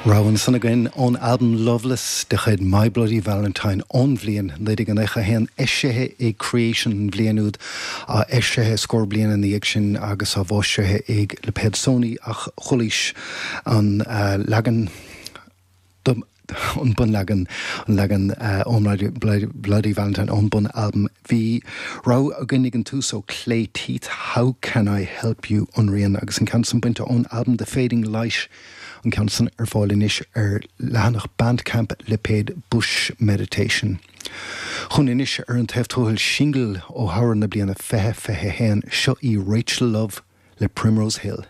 Rogha ansan againn ón albam Loveless de chuid My Bloody Valentine ón bhliain 1991, eisithe ag Creation an bhliain úd, eisithe scór bliain ina dhiaidh sin agus á bhfoilsithe ag lipéad Sony ach chualaís an leagan an bunleagan, an leagan ón Bloody Valentine ón bun-albam. Bhí rogha againn ag an tús ó Clay Teeth, How Can I Help You, an rian, agus an ceann san bainte ón albam The Fading Light, an ceann san ar fáil anois ar leathanach Bandcamp lipéad Bush Meditation. Chugainn anois ar an taobh tuathail singil ó shamhradh na bliana 2021, seo í Rachel Love le Primrose Hill.